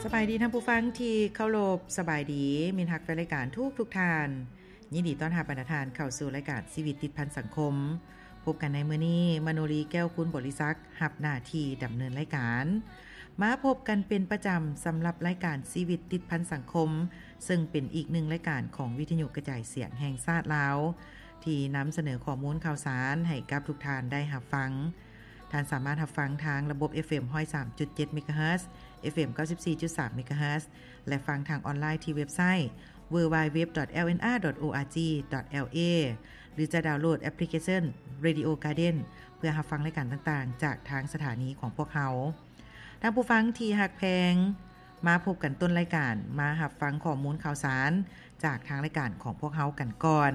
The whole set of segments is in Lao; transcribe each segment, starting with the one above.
ສະບາຍດີທ່ານຜູ້ຟັງທີ່ເຄົາລົບ, ສະບາຍດີມິດຮັກແຟນລາຍການທຸກໆທ່ານ. ຍິນດີຕ້ອນຮັບບັນດາທ່ານເຂົ້າສູ່ລາຍການຊີວິດຕິດພັນສັງຄົມ. ພົບກັນໃນມື້ນີ້, ມະໂນລີ ແກ້ວກຸນບໍລິສັກ ຮັບໜ້າທີ່ດຳເນີນລາຍການ. ມາພົບກັນເປັນປະຈຳສຳລັບລາຍການຊີວິດຕິດພັນສັງຄົມ, ເຊິ່ງເປັນອີກໜຶ່ງລາຍການຂອງວິທະຍຸກະຈາຍສຽງແຫ່ງຊາດລາວ ທີ່ນຳສະເໜີຂໍ້ມູນຂ່າວສານໃຫ້ກັບທຸກທ່ານໄດ້ຮັບຟັງ. ທ່ານສາມາດຮັບຟັງທາງລະບົບ ເອັຟເອັມ ຮ້ອຍສາມຈຸດເຈັດ ເມກາເຮີດ, ເອັຟເອັມ ເກົ້າສິບສີ່ຈຸດສາມ ເມກາເຮີດ ແລະ ຟັງທາງອອນລາຍທີ່ເວັບໄຊ ดัບເບິນຢູ ດັບເບິນຢູ ດັບເບິນຢູ ດອດ ແອລເອັນອາ ດອດ ໂອອາຈີ ດອດ ແອລເອ ຫຼື ຈະດາວໂຫຼດແອັບພລິເຄຊັນ ເຣດິໂອ ກາເດນ ເພື່ອຮັບຟັງລາຍການຕ່າງໆ ຈາກທາງສະຖານີຂອງພວກເຮົາ. ທ່ານຜູ້ຟັງທີ່ຮັກແພງ, ມາພົບກັນຕົ້ນລາຍການ, ມາຮັບຟັງຂໍ້ມູນຂ່າວສານຈາກທາງລາຍການຂອງພວກເຮົາກັນກ່ອນ.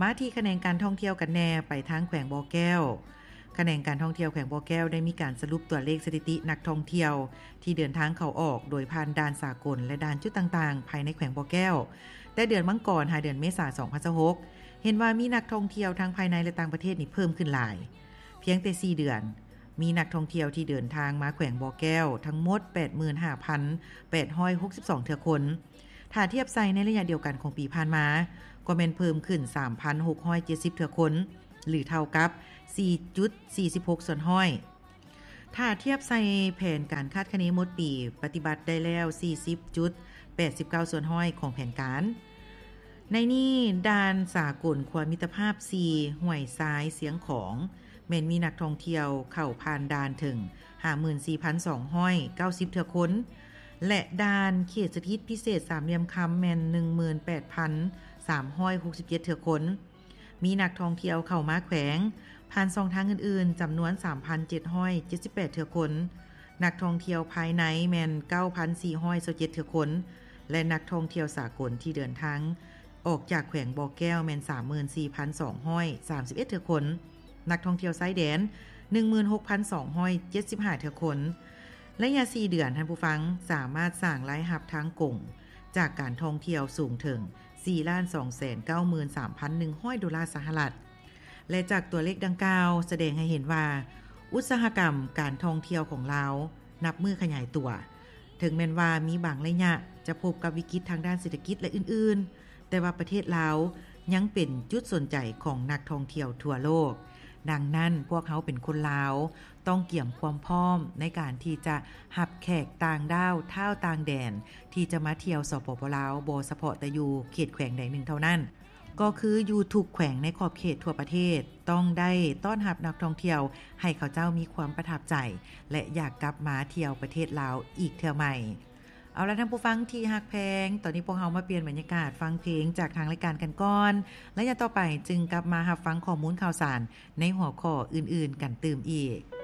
ມາທີ່ຂະແໜງການທ່ອງທ່ຽວກັນແດ່, ໄປທາງແຂວງບໍ່ແກ້ວ. ຂະແໜງການທ່ອງທ່ຽວແຂວງບໍ່ແກ້ວໄດ້ມີການສະຫຼຸບຕົວເລກສະຖິຕິນັກທ່ອງທ່ຽວທີ່ເດີນທາງເຂົ້າອອກໂດຍຜ່ານດ່ານສາກົນ ແລະ ດ່ານຈຸດຕ່າງໆ ພາຍໃນແຂວງບໍ່ແກ້ວ ແຕ່ເດືອນມັງກອນຫາເດືອນເມສາ ສອງພັນຊາວຫົກ ເຫັນວ່າມີນັກທ່ອງທ່ຽວທັງພາຍໃນ ແລະ ຕ່າງປະເທດນີ້ເພີ່ມຂຶ້ນຫຼາຍ. ພຽງແຕ່ສີ່ເດືອນ, ມີນັກທ່ອງທ່ຽວທີ່ເດີນທາງມາແຂວງບໍ່ແກ້ວທັງໝົດ ແປດໝື່ນຫ້າພັນແປດຮ້ອຍຫົກສິບສອງເທື່ອຄົນ. ຖ້າທຽບໃສ່ໃນໄລຍະດຽວກັນຂອງປີຜ່ານມາ, ກໍແມ່ນເພີ່ມຂຶ້ນ ສາມພັນຫົກຮ້ອຍເຈັດສິບເທື່ອຄົນ ຫຼື ເທົ່າກັບ ສີ່ຈຸດສີ່ສິບຫົກສ່ວນຮ້ອຍ. ຖ້າທຽບໃສ່ແຜນການຄາດຄະເນໝົດປີ, ປະຕິບັດໄດ້ແລ້ວ ສີ່ສິບຈຸດແປດສິບເກົ້າສ່ວນຮ້ອຍຂອງແຜນການ. ໃນນີ້, ດ່ານສາກົນຂົວມິດຕະພາບສີ່ ຫ້ວຍຊາຍ ຊຽງຂອງ ແມ່ນມີນັກທ່ອງທ່ຽວເຂົ້າຜ່ານດ່ານເຖິງ ຫ້າໝື່ນສີ່ພັນສອງຮ້ອຍເກົ້າສິບເທື່ອຄົນ ແລະ ດ່ານເຂດສະຖິດພິເສດສາມຫຼ່ຽມຄຳ ແມ່ນ ໜຶ່ງໝື່ນແປດພັນສາມຮ້ອຍຫົກສິບເຈັດເທື່ອຄົນ. ມີນັກທ່ອງທ່ຽວເຂົ້າມາແຂວງຜ່ານຊ່ອງທາງອື່ນໆ ຈຳນວນ ສາມພັນເຈັດຮ້ອຍເຈັດສິບແປດເທື່ອຄົນ, ນັກທ່ອງທ່ຽວພາຍໃນແມ່ນ ເກົ້າພັນສີ່ຮ້ອຍຊາວເຈັດເທື່ອຄົນ ແລະ ນັກທ່ອງທ່ຽວສາກົນທີ່ເດີນທາງອອກຈາກແຂວງບໍ່ແກ້ວແມ່ນ ສາມໝື່ນສີ່ພັນສອງຮ້ອຍສາມສິບເອັດເທື່ອຄົນ, ນັກທ່ອງທ່ຽວຊາຍແດນ ໜຶ່ງໝື່ນຫົກພັນສອງຮ້ອຍເຈັດສິບຫ້າເທື່ອຄົນ. ໄລຍະສີ່ເດືອນ, ທ່ານຜູ້ຟັງສາມາດສ້າງລາຍຮັບທາງກົງຈາກການທ່ອງທ່ຽວສູງເຖິງ ສີ່ລ້ານສອງແສນເກົ້າໝື່ນສາມພັນໜຶ່ງຮ້ອຍໂດລາສະຫະລັດ ແລະ ຈາກຕົວເລກດັ່ງກ່າວສະແດງໃຫ້ເຫັນວ່າ ອຸດສາຫະກຳການທ່ອງທ່ຽວຂອງລາວນັບມື້ຂະຫຍາຍຕົວ. ເຖິງແມ່ນວ່າມີບາງໄລຍະຈະພົບກັບວິກິດທາງດ້ານເສດຖະກິດ ແລະ ອື່ນໆ, ແຕ່ວ່າປະເທດລາວຍັງເປັນຈຸດສົນໃຈຂອງນັກທ່ອງທ່ຽວທົ່ວໂລກ. ດັ່ງນັ້ນ, ພວກເຮົາເປັນຄົນລາວ ຕ້ອງກຽມຄວາມພ້ອມໃນການທີ່ຈະຮັບແຂກຕ່າງດ້າວທ້າວຕ່າງແດນ ທີ່ຈະມາທ່ຽວ ສປປ ລາວ ບໍ່ສະເພາະແຕ່ຢູ່ເຂດແຂວງໃດໜຶ່ງເທົ່ານັ້ນ, ກໍຄືຢູ່ທຸກແຂວງໃນຂອບເຂດທົ່ວປະເທດ ຕ້ອງໄດ້ຕ້ອນຮັບນັກທ່ອງທ່ຽວໃຫ້ເຂົາເຈົ້າມີຄວາມປະທັບໃຈ ແລະ ຢາກກັບມາທ່ຽວປະເທດລາວອີກເທື່ອໃໝ່. ເອົາລະ ທ່ານຜູ້ຟັງທີ່ຮັກແພງ, ຕອນນີ້ພວກເຮົາມາປ່ຽນບັນຍາກາດຟັງເພງຈາກທາງລາຍການກັນກ່ອນ. ໄລຍະຕໍ່ໄປຈຶ່ງກັບມາຮັບຟັງຂໍ້ມູນຂ່າວສານໃນຫົວຂໍ້ອື່ນໆກັນຕື່ມອີກ.